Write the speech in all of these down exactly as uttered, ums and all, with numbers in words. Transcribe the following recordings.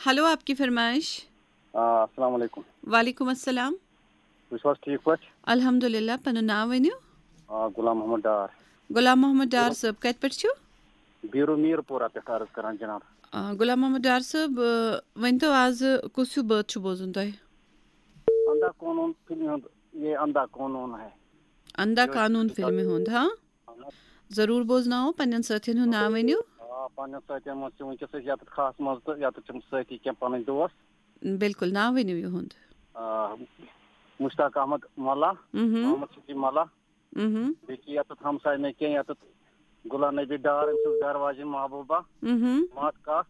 Hello, آپ کی فرمائش۔ آ، السلام علیکم۔ وعلیکم السلام۔ تُہۍ چھِو حظ ٹھیٖک پٲٹھۍ؟ الحمدللہ، پنُن ناو ؤنِو۔ آ، غلام محمد ڈار۔ غلام محمد ڈار صٲب، کتہِ پٮ۪ٹھ چھِو؟ بیرو میر پورہ پٮ۪ٹھ عرض کران جناب۔ آ، غلام محمد ڈار صٲب، آ، ؤنۍ تو، آز کُس ہیوٗ بٲتھ چھُ بوزُن تۄہہِ؟ اندا قونوٗن فِلمہِ ہُنٛد، یہ اندا قونوٗن ہے۔ اندا یہِ اوس قانوٗن فِلمہِ ہُنٛد، ہاں؟ ضروٗر بوزناوو، پننٮ۪ن سٲتھٮ۪ن ہُنٛد ناو ؤنِو۔ آ، پننٮ۪ن سٲتھٮ۪ن منٛز چھِ وٕنکیٚس أسۍ یتھ خاص منٛز تہٕ یتھ چھِ سٲتھی کینٛہہ پنٕنۍ دوس۔ بِلکُل، ناو ؤنِو یِہُنٛد۔ آ، مشتاق احمد ملا، مہم، محمد صدیق ملا، مہم، بیٚیہِ چھِ یتھ ہمساے مےٚ کینٛہہ، یتھ غلام نبی ڈار، أمۍ سٕنٛز گرٕ واجِنۍ محبوبہ، مہم، مات کاک،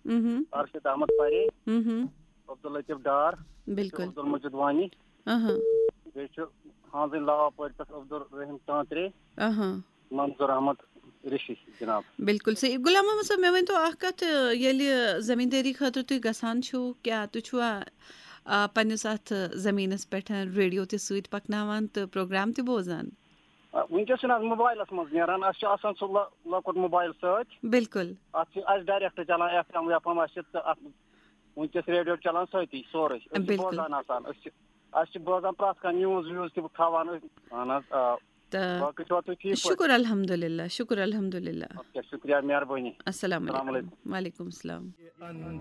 مہم، ارشد احمد پرے، مہم، عبداللطیف ڈار، بِلکُل۔ عبدالمجید وانی، اہاں، بیٚیہِ چھُ ہانزٕنۍ لاوا پورِ پٮ۪ٹھ عبدالرحیم تانترے، اہاں۔ منظور احمد رشی جناب۔ بِلکُل صحیح۔ غلام محمد صٲب، مےٚ ؤنۍ تو اکھ کتھ، ییٚلہِ زٔمیٖندٲری خٲطرٕ تُہۍ گژھان چھِو، کیٛاہ تُہۍ چھِوا، آ، پننِس اتھ زٔمیٖنس پٮ۪ٹھ ریڈیو تہِ سۭتۍ پکناوان تہٕ پروگرام تہِ بوزان؟ آ، وٕنکیٚس چھُنہٕ اَتھ موبایلَس منٛز نیران، اَسہِ چھُ آسان سُہ لۄ-، لۄکُٹ موبایل سۭتۍ۔ بِلکُل۔ اَتھ چھِ اَسہِ ڈایریکٹ چلان ایف ایم ویف ایم، اَسہِ چھِ تہٕ اَتھ وٕنکیٚس ریڈیو چلان سۭتی سورُے۔ أسۍ چھِ بِلکُل۔ بوزان آسان، أسۍ چھِ، اَسہِ چھِ بوزان پرٛٮ۪تھ کانٛہہ نِوٕز وِوٕز تہِ تھاوان أسۍ۔ اَہَن حظ، آ۔ تہٕ باقٕے چھِوا تُہۍ ٹھیٖک پٲٹھۍ؟ شُکُر الحمدللہ، شُکُر الحمدللہ۔ اَدٕ کیٛاہ، شُکریہ، مہربٲنی۔ السلام السلام علیکم۔ علیکم۔ وعلیکم السلام۔